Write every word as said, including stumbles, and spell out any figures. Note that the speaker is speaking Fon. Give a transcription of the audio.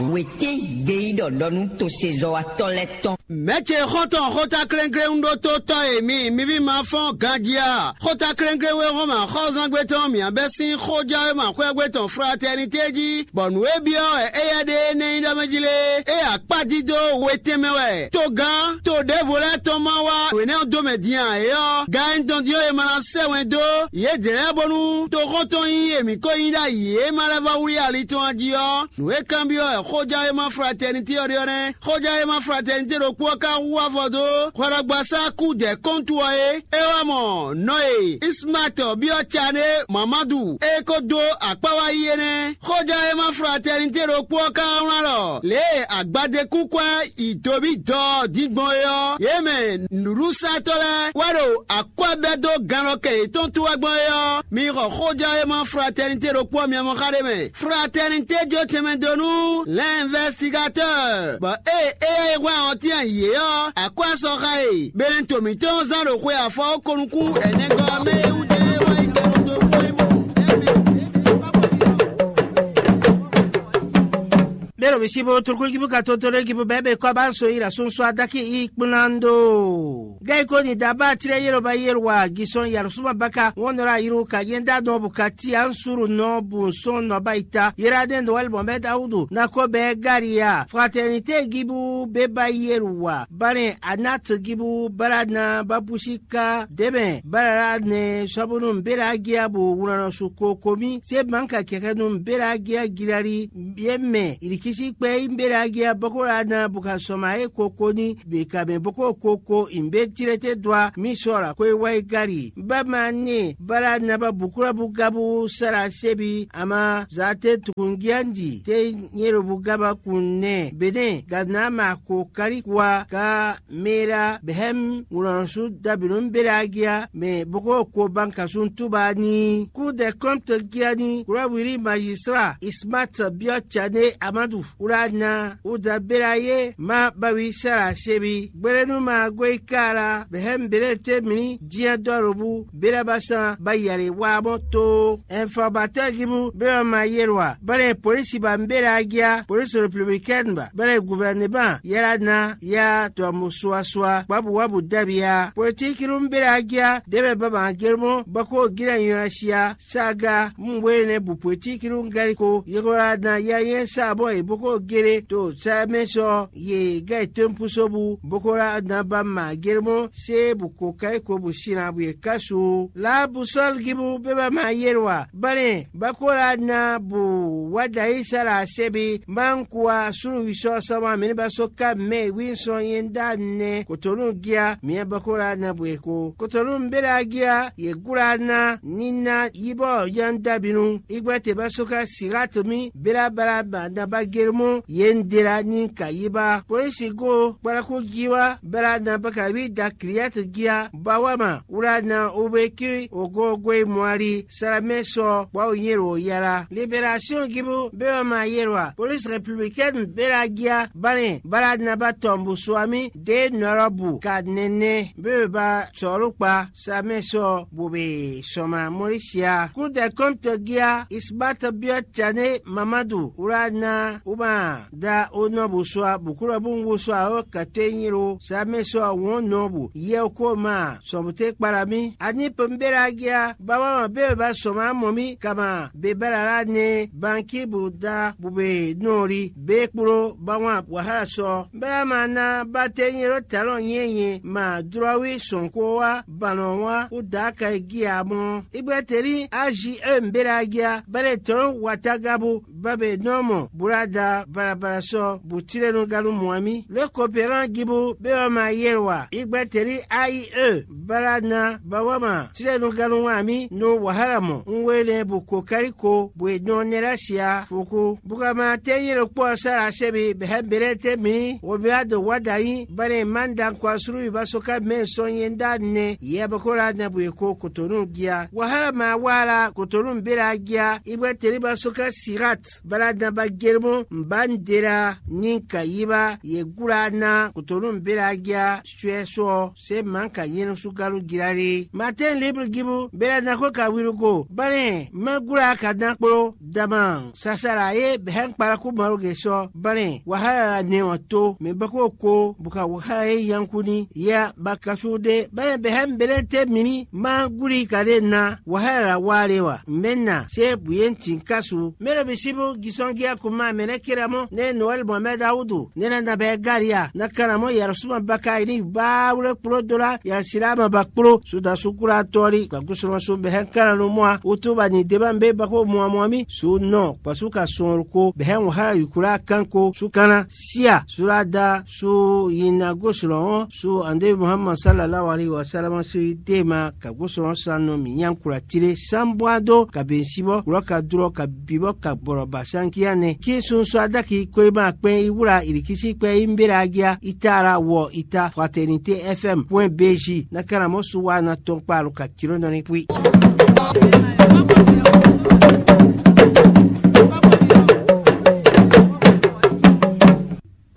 Wětín gbeyíɖɔ ɖɔ nú tosezɔ́watɔ́ lɛ́ɛ tɔn. Mɛ̌ ce xɔ́ntɔn xóta klɛ́nklɛ́n ɖótótɔ́ e mi, mi ví ma fɔ́n ganjí a? Xóta klɛ́nklɛ́n wé hɔn mɛ xɔ́zángbé tɔn mǐ bɛ́ sín xójɛ́wéma xwɛ́gbé tɔn Fratɛnité jí, bɔ nǔ e byɔ́ wɛ éyɛ́ ɖe énɛ́ nyí ɖɔ mɛ jí lé, é akpá dídó we tɛnmɛ wɛ. Togán to ɖěvo lɛ́ɛ tɔn ma wá wěnɛ́ ɔ́ dó mɛ din ǎ é ɔ́, gan e un tɔn din ɔ́, è ma ná sɛ́ wɛn dó yědɛɛ lɛ́ɛ bónú toxɔ́ntɔn nyí e mǐ ko nyí ɖ'ayǐ e ma lɛ́ vɔ́ wlí ali tɔn jí ɔ́, nǔ e kanbyɔ́ wɛ xójɛ́wéma Fratɛnité ɔ́ ɖe ɔ́ nɛ́. Xójɛ́wéma Fratɛnité ɖokpó ɔ́ ka hu afɔ dó hwɛɖɔgbasá kúdɛ̌ kɔ́ntu ɔ́ é. É wá mɔ nɔ e Ismaatɔ byɔ́ Cané Mamadu e ko dó akpá wá yi é nɛ́. Xójɛ́wéma Fratɛnité ɖokpó ɔ́ ka wlán ɖɔ lě e agbadékúnkwɛ́ yi dobí dɔ ɔ́ din gbɔn é ɔ́, yě mɛ nǔɖuɖusatɔ́ lɛ́ɛ wɛ ɖo akwɛ́ bɛ́ dó gannɔkɛ yětɔn tó wɛ gbɔn é ɔ́, mi xɔ xójɛ́wéma Fratɛnité ɖokpó ɔ́ mɛ mɔ xá ɖé mɛ. Fratɛnité jó tɛnmɛ dó nú l'investigatɔ́, bɔ ée éyɛ́ e hwlɛ́n ɔ́ tɛ́n yě ɔ́, akwɛ́ sɔxa e Benɛto mǐtɔn zán ɖo xwe afɔ ɔ́ ko nukún ɛnɛgɔ́ ɔ́ mɛ é wú jɛ é wá yi kɛ ɖo xwe mɔ. Bero bisibo turkugibu ka toto ɖe gibu bɛɛ bɛ kɔ ba so yi la sunsu adaki i kplando. Gai ko ni daba tire yelo ba yelo wa gisɔn yarusuma baka wɔn nɔra yiru ka yenda nɔ bu ka ti ansuru nɔ bu sɔn nɔ ba ita yera den dɔ wali bɔnbɛ dawudu na ko bɛ garia fraternité gibu be ba yelo wa bane anat gibu barana babusi ka debɛ barara ne sɔbunu bera gia bu wunanɔ su ko komi se banka kɛkɛ nu bera gia girali ye mɛ ilikisi kpɛ yi bera gia bɔkɔ la na bu ka sɔma e ko ko ni be ka mɛ boko koko imbe tirete dwa mi sɔ la ko e wa e gari ba ma ne bara na ba bukura bu gabu sara sebi ama za te tukungiandi te nyero bu gaba kun ne bene gadna ma ko kari kwa ka mera behem wulɔnsu dabinun bera gia mɛ boko ko banka sun tuba ni ku de kɔmte gia ni kura wiri magistra ismat biɔ tsane amadu wla na Udabela ye ma bawi sara sebi gbeɖenu ma goika la bɛhɛn bele te mli diɛ dɔ lobu bela ba san ba yale wa mɔ to. Ɛnfɔbatɔ gibu be ma ma yelwa bane polisi ba mbela gia polisi républicaine ba bane gouvernement yala na ya tɔmu suasua babu wabu dabia politiki nu mbela gia debe ba ma gelmo bako gina nyɔnasia saga mungwene bu politiki nu galiko yekola na ya yɛn sa bɔ e boko gele to sɛmɛ sɔ ye gɛ tempuso bu boko la na ba ma germo se bu ko kai ko bu sina bu ye kasu la bu sɔl gibu be ba ma yelwa bane bako la na bu wadayi sala sebi man kuwa sulu wisɔ sama mini ba so ka mɛ wi sɔ yenda ne kotonu gia miɛ bako la na bu ye ko kotonu mbela gia ye gula na ni na yibɔ yan dabinu igbe te ba so ka sirat mi bela bala ba na ba germo ye ndela ni ka yiba polisi go kpalaku jiwa bela na ba ka wi da kriyat gia ba wa ma wla na o be ki ogo go e mɔali salamɛ sɔ bɔ o nyɛ lo yala liberation gibu be wa ma yelwa police républicaine bela gia bane bala na ba tɔmbu suami de nɔrɔbu ka nɛnɛ be ba sɔlu kpa Samɛ sɔ bo be sɔma Mɔlisia. Kúdɛ kɔ́mtɔ gíá Isbat byɔ́ Tane Mamadu wlá ná wuma da onɔ bo sɔ bukúlɔ bú wosɔ awɔ kɛtɛ nyiro Samɛ sɔ wɔn nɔ bu yɛ ko ma sɔmute kpala mì. Ani pembela gíá bawa ma be ba sɔma mɔ mì kama be bala la ne banki bu da bu be nɔri be kplo bawa wahala sɔ Bla ma ná ba te nyɛ ɖo talɔn nyɛnyɛ ma dlɔ́ wí sɔn ko wá banɔ wá kú dǎ ka e gí ǎ mɔ́. Igbɛ́teli A J E mbéla gíá bɛ́lɛ tɔn watagábu bábɛ nɔ́ mɔ búlada balabala sɔ́ bǔtílɛ́núgánu mɔ amí. Lě Koperán gibu bé wá ma yɛ́ wa igbɛ́teli A I E bala ná ba wá ma tílɛ́núgánu wá amí nú wǎhálà mɔ un we lɛ́ɛ bu kokáliko bwe nɔ nɛ́ lɛ́ sia fukú. Bugama tɛ́nyɛ ɖokpó ɔ́ sá la sɛ́ mi bɛ̌ bɛ́lɛ́ tɛ́ mǐ ní wǒbíwá dǒ wá dǎ nyí bɔ é ná má un ɖankɔ asúlúwi ba sɔ́ ká mɛ sɔ́ nyɛ ɖó anɛ yɛ bɔ kó lá nɛ bǔ e ko kotonu jí a? Wahala ma wa la kotonu bě la jí a? Igbɛ́ teli ba sɔ́ ká Sirat Baladan ba Jeremɔ, Mbandera, Ninka Yiba, Yegula na, Kotonu Belagia, Suɛso, se Manka Yenu Sugalu Girare. Matin Libre Gibu, Beladan ko ka Wirugo, Bane, Magula ka dan kplo, Daman, Sasara ye bɛhɛn kpalaku Maruge sɔ, Bane, Wahala ne ɔ to, me bako ko, buka Wahala ye yankuni, ya bakasu de, Bane bɛhɛn Belente mini, Maguli ka de na, Wahala wa le wa, Mena, se buyen tin kasu, Mero bisibu, Gisɔngia kuma, Mene Kiramɔ, ne Noël Mohamed Awudu, ne na na bɛ Garia, na kana mɔ Yarusuma baka ini ba wle kplo dola, Yarusilama ba kplo, suda sukula tɔli, ka gusɔnɔ so bɛhɛn kana no mɔa, utu ba ni deba mbe bako mɔa mɔa mi, su nɔ, pasu ka sɔn ko, bɛhɛn Wahala yukula kanko, su kana, sia, surada, su yina gosɔnɔ, su ande Muhammad sallallahu alaihi wasallam su tema, ka gosɔnɔ san nɔ mi nyan kula tire, sanbwa do, ka ben sibɔ, kulɔ ka durɔ, ka bibɔ, ka bɔrɔ ba sankia nɛ. Ki sunsu adaki ko ma kpɛn i wula ilikisi kpɛ i mbera agia, i ta ara wɔ i ta, Fraternité F M point B J, na kana mɔ su wa na tɔn kpa lo ka kiro nɔ ni pui.